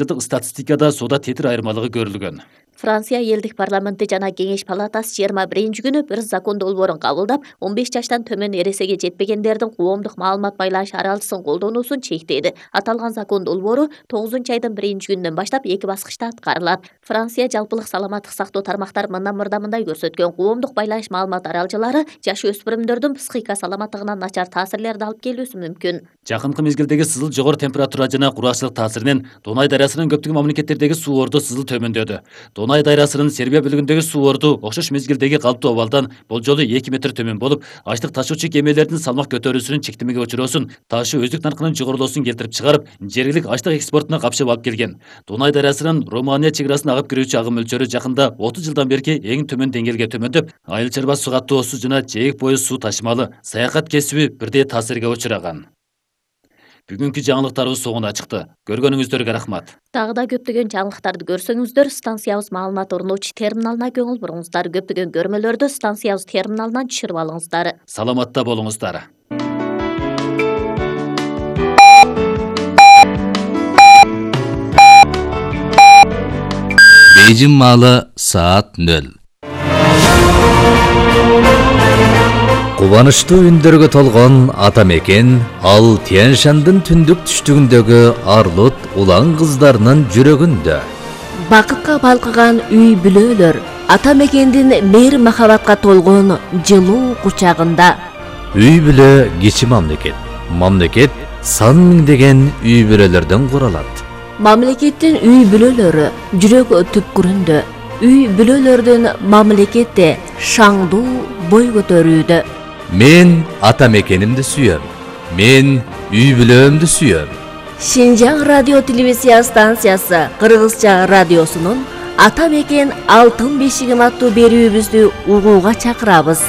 Жылдык статистикада соода тетир айырмалыгы көрүлгөн. Франция элдик парламенти жана кеңеш палатасы 21-күнү bir закон долбоорун кабылдап, 15 жаштан төмөн эресеге жетпегендердин коомдук маалымат байланыш аралышсын колдонуусун чектейди. Аталган закон долбоору 9-айдын 1-күнүнөн баштап 2 баскычта аткарылат. Франция жалпылык саламаттык сактоо тармактары мындай көрсөткөн. Коомдук байланыш маалымат аралжылары жаш өспүрүмдөрдүн психика саламаттыгына начар таасирлерди алып келүүсү мүмкүн. Жакынкы мезгилдеги сызыл жогору температура жана кургакчылык таасиринен Дунай дарыясынын көптөгөн мамлекеттердеги суу орду сызыл төмөндөдү. Дунай дарыясынын Сербия бөлүгүндөгү суу орду окшош мезгилдеги калыптуу абалдан болжолу 2 метр төмөн болуп, ачлык ташуучу кемелердин салмак көтөрүүсүнүн чектемеге учуроосун, ташуу өздүк наркынын жогорулоосун келтирип чыгарып, жергилик ачлык экспортуна капшап алып келген. Дунай дарыясынын Румыния чек арасын агып кирүүчү агым мөлчөрү жакында 30 жылдан берки эң төмөн деңгээлге төмөндөп, айыл чарба суу каттоосу жана жээк бою суу ташымалы, саякат кесиби бирдей таасирге учураган. Бүгүнкү жаңылыктарыбыз соңуна чыкты. Көргөнүңүздөргө рахмат. Дагы да көптөгөн жаңылыктарды көрсөңүздөр, станциябыз маалымат орнотуучу терминалына көңүл буруңуздар. Көптөгөн көрмөлөрдү станциябыз терминалынан түшүрүп алыңыздар. Саламатта болуңуздар. Бейжин маалы саат 0. Кубанычтуу үндөргө толгон ата мекен ал Тянь-Шандын түндүк түштүгүндөгү арлут улан кыздарынын жүрөгүндө. Бакытка балкыган үй бүлөлөр ата мекендин мейир махабатка толгон жылуу кучагында. Үй бүлө кичи мамлекет. Мамлекет сан миңдеген үй бүлөлөрдөн куралат. Мамлекеттин үй бүлөлөрү жүрөк түпкүрүндө. Үй бүлөлөрдүн мамлекетте шаңдуу бой көтөрүүдө. Мен ата мекенимди сүйөм. Мен үй бүлөмдү сүйөм. Шинжаң радио телевизия станциясы Кыргызча радиосунун ата мекен алтын бешигим аттуу берүүбүздү угууга чакырабыз.